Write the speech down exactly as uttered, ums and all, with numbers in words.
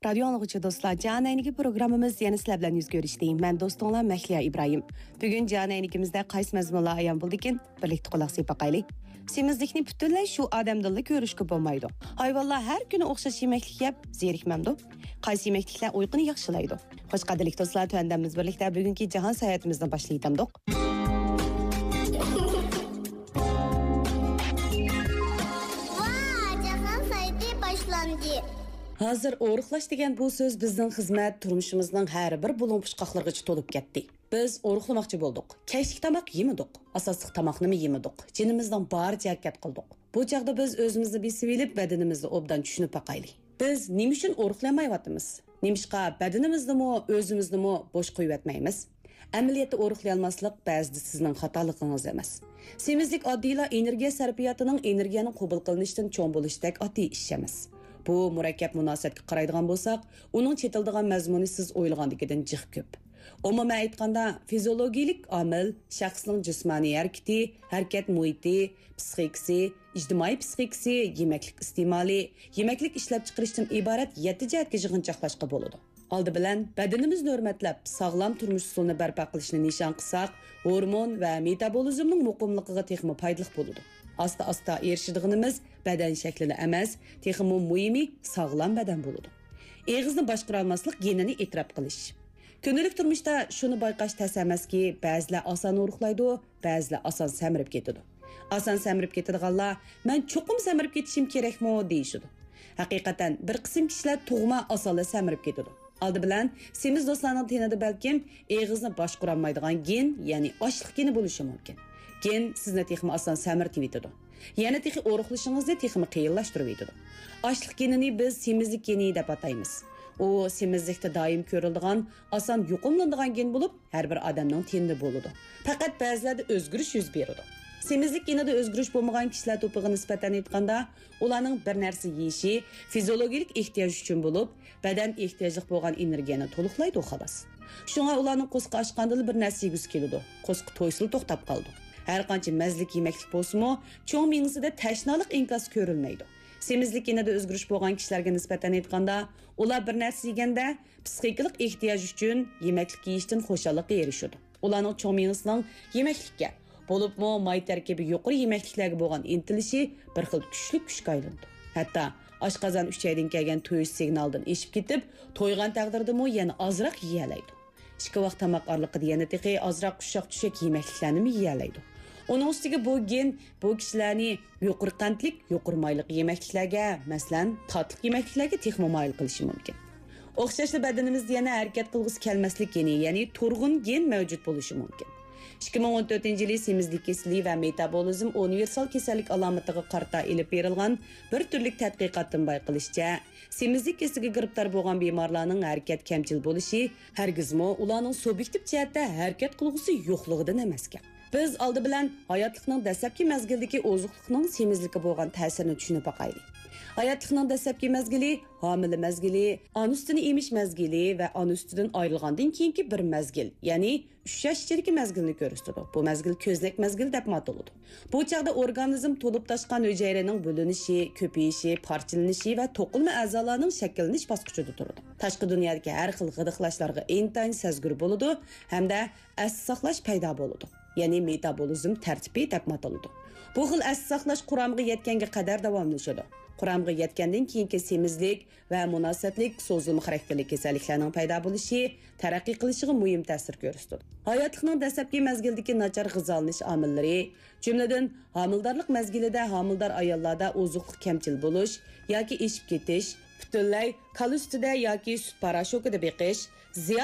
رادىيو ئاڭلىغۇچى دوستلار، جان ئەينىكى پروگراممىمىز يەنە سىلەر بىلەن يۈز كۆرۈشتى. مەن دوستۇڭلار مەھلىيا ئىبراھىم. بۈگۈن جان ئەينىكىمىزدە قايسى مەزمۇنلار ئايان بولدىكىن؟ بىرلىكتە قۇلاق سېلىپ باقايلى. سېمىزلىكنى پۈتۈنلەي شۇ ئادەمدىنلا كۆرۈشكە بولمايدۇ. ھايۋانلار ھەر كۈنى ئوخشاش يېمەكلىك يەپ زېرىكمەمدۇ؟ قايسى يېمەكلىكلەر ئۇيقۇنى ياخشىلايدۇ؟ خوش، قەدىرلىك دوستلار، تۆۋەندە بىز بىرلىكتە بۈگۈنكى جاھان ساياھىتىمىزنى باشلايتامدۇق. ۋا، جاھان ساياھىتى باشلاندى. ھازىر ئورۇقلاش دېگەن بۇ سۆز بىزنىڭ خىزمەت، تۇرمۇشىمىزنىڭ ھەر بىر بۇلۇڭ-پۇچقاقلىرىغىچە تولۇپ كەتتى. بىز ئورۇقلىماقچى بولدۇق. كەچلىك تاماق يېمىدۇق. ئاساسلىق تاماقنىمۇ يېمىدۇق. جېنىمىزنىڭ بارىچە ھەرىكەت قىلدۇق. بۇ چاغدا بىز ئۆزىمىزنى بېسىۋېلىپ، بەدىنىمىزنى ئوبدان چۈشىنىپ باقايلى. بىز نېمە ئۈچۈن ئورۇقلىيالمايۋاتىمىز؟ نېمىشقا بەدىنىمىزنىمۇ، ئۆزىمىزنىمۇ بوش قويۇۋەتمەيمىز؟ ئەمەلىيەتتە ئورۇقلىيالماسلىق بەزىدە سىزنىڭ خاتالىقىڭىز ئەمەس. سېمىزلىك ئاددىيلا ئېنېرگىيە سەرپىياتىنىڭ ئېنېرگىيەنىڭ قوبۇل قىلىنىشىدىن چوڭ بولۇشتەك ئاددىي ئىش ئەمەس. بۇ مۇرەككەپ مۇناسىۋەتكە قارايدىغان بولساق، ئۇنىڭ چېتىلىدىغان مەزمۇنى سىز ئويلىغاندىكىدىن جىق كۆپ. ئومۇمەن ئېيتقاندا، فىزىيولوگىيىلىك ئامىل، شەخسنىڭ جىسمانىي ھەرىكىتى، ھەرىكەت مۇھىتى، پىسخىكىسى، ئىجتىمائىي پىسخىكىسى، يېمەكلىك ئىستېمالى، يېمەكلىك ئىشلەپچىقىرىشتىن ئىبارەت يەتتە جەھەتكە يىغىنچاقلاشقا بولىدۇ. ئالدى بىلەن بەدىنىمىزنى ھۆرمەتلەپ، ساغلام تۇرمۇش ئۇسۇلىنى بەرپا قىلىشنى نىشان قىلساق، ھورمون ۋە مېتابولىزمنىڭ مۇقىملىقىغا تېخىمۇ پايدىلىق بولىدۇ. ئاستا-ئاستا ئېرىشىدىغىنىمىز بەدەن شەكلىلا ئەمەس، تېخىمۇ مۇھىمى ساغلام بەدەن بولىدۇ. ئېغىزنى باشقۇرالماسلىق گېنىنى ئېتىراپ قىلىش. كۈندىلىك تۇرمۇشتا شۇنى بايقاش تەس ئەمەسكى، بەزىلەر ئاسان ئورۇقلايدۇ، بەزىلەر ئاسان سەمرىپ كېتىدۇ. ئاسان سەمرىپ كېتىدىغانلار، «مەن چوقۇم سەمرىپ كېتىشىم كېرەكمۇ؟» دېيىشىدۇ. ھەقىقەتەن، بىر قىسىم كىشىلەر تۇغما ئاسانلا سەمرىپ كېتىدۇ. ئالدى بىلەن، سېمىز دوستلارنىڭ تېنىدا بەلكىم ئېغىزنى باشقۇرالمايدىغان گېن، يەنى ئاشلىق گېنى بولۇشى مۇمكىن. گېن سىزنى تېخىمۇ ئاسان سەمرىتىۋېتىدۇ. يەنە تېخى ئورۇقلىشىڭىزنى تېخىمۇ قىيىنلاشتۇرۇۋېتىدۇ. ئاشلىق گېنىنى بىز سېمىزلىك گېنى دەپ ئاتايمىز. ئۇ سېمىزلىكتە دائىم كۆرۈلىدىغان، ئاسان يۇقۇملىنىدىغان گېن بولۇپ، ھەر بىر ئادەمنىڭ تېنىدە بولىدۇ. پەقەت بەزىلەردە ئۆزگىرىش يۈز بېرىدۇ. سېمىزلىك گېنىدا ئۆزگىرىش بولمىغان كىشىلەر توپىغا نىسبەتەن ئېيتقاندا، ئۇلارنىڭ بىر نەرسە يېيىشى فىزىيولوگىيىلىك ئېھتىياج ئۈچۈن بولۇپ، بەدەن ئېھتىياجلىق بولغان ئېنېرگىيەنى تولۇقلايدۇ، خالاس. شۇڭا ئۇلارنىڭ قورسىقى ئاچقاندىلا بىر نەرسە يېگۈسى كېلىدۇ، قورسىقى تويسىلا توختاپ قالىدۇ. ھەرقانچە مەززىلىك يېمەكلىك بولسىمۇ، چوڭ مېڭىسىدە تەشنالىق ئىنكاسى كۆرۈلمەيدۇ. سېمىزلىك گېنىدا ئۆزگىرىش بولغان كىشىلەرگە نىسبەتەن ئېيتقاندا، ئۇلار بىر نەرسە يېگەندە، پىسخىكىلىق ئېھتىياج ئۈچۈن يېمەكلىك يېيىشتىن خۇشاللىققا ئېرىشىدۇ. ئۇلارنىڭ چوڭ مېڭىسىنىڭ يېمەكلىككە، بولۇپمۇ ماي تەركىبى يۇقىرى يېمەكلىكلەرگە بولغان ئىنتىلىشى بىر خىل كۈچلۈك كۈچكە ئايلىنىدۇ. ھەتتا ئاشقازان ئۈچەيدىن كەلگەن تويۇش سىگنالىدىن ئېشىپ كېتىپ، تويغان تەقدىردىمۇ يەنە ئازراق يېيەلەيدۇ. ئىككى ۋاق تاماق ئارىلىقىدا يەنە تېخى ئازراق ئۇششاق-چۈششەك يېمەكلىكلەرنىمۇ يېيەلەيدۇ. ئۇنىڭ ئۈستىگە بۇ گېن بۇ كىشىلەرنى يۇقىرى قەنتلىك، يۇقىرى مايلىق يېمەكلىكلەرگە، مەسىلەن، تاتلىق يېمەكلىكلەرگە تېخىمۇ مايىل قىلىشى مۇمكىن. ئوخشاشلا بەدىنىمىزدە يەنە ھەرىكەت قىلغۇسى كەلمەسلىك گېنى، يەنى تۇرغۇن گېن مەۋجۇت بولۇشى مۇمكىن. ئىككى مىڭ ئون تۆتىنچى يىلى سېمىزلىك كېسىلى ۋە مېتابولىزم ئۇنىۋېرسال كېسەللىك ئالامىتىغا قارىتا ئېلىپ بېرىلغان بىر تۈرلۈك تەتقىقاتتىن بايقىلىشىچە، سېمىزلىك كېسىلىگە گىرىپتار بولغان بىمارلارنىڭ ھەرىكەت كەمچىل بولۇشى ھەرگىزمۇ ئۇلارنىڭ سۇبيېكتىپ جەھەتتە ھەرىكەت قىلغۇسى يوقلۇقىدىن ئەمەسكەن. بىز ئالدى بىلەن ھاياتلىقنىڭ دەسلەپكى مەزگىلىدىكى ئوزۇقلۇقنىڭ سېمىزلىككە بولغان تەسىرىنى چۈشىنىپ باقايلى. ھاياتلىقنىڭ دەسلەپكى مەزگىلى، ھامىلە مەزگىلى، ئانا سۈتىنى ئېمىش مەزگىلى ۋە ئانا سۈتىدىن ئايرىلغاندىن كېيىنكى بىر مەزگىل، يەنى ئۈچ ياش ئىچىدىكى مەزگىلنى كۆرسىتىدۇ. بۇ مەزگىل كۆزنەك مەزگىلى دەپمۇ ئاتىلىدۇ. بۇ چاغدا ئورگانىزم تولۇپ تاشقان ھۈجەيرىنىڭ بۆلۈنۈشى، كۆپىيىشى، پارچىلىنىشى ۋە توقۇلما ئەزالارنىڭ شەكىللىنىش باسقۇچىدا تۇرىدۇ. تاشقى دۇنيادىكى ھەر خىل غىدىقلاشلارغا ئىنتايىن سەزگۈر بولىدۇ ھەمدە ئەستە ساقلاش پەيدا بولىدۇ. يەنى مېتابولىزم تەرتىپى دەپمۇ ئاتىلىدۇ. بۇ خىل ئەستە ساقلاش قۇرامىغا يەتكەنگە قەدەر داۋاملىشىدۇ. قۇرامىغا يەتكەندىن كېيىنكى سېمىزلىك ۋە مۇناسىۋەتلىك سوزۇلما خاراكتېرلىك كېسەللىكلەرنىڭ پەيدا بولۇشى، تەرەققىي قىلىشىغا مۇھىم تەسىر كۆرسىتىدۇ. ھاياتلىقنىڭ دەسلەپكى مەزگىلىدىكى ناچار غىزالىنىش ئامىللىرى، جۈملىدىن، ھامىلىدارلىق مەزگىلىدە ھامىلىدار ئاياللاردا ئوزۇقلۇق كەمچىل بولۇش ياكى ئېشىپ كېتىش، پۈتۈنلەي كالا سۈتىدە ياكى سۈت پاراشوكىدا بېقىش، زىيادە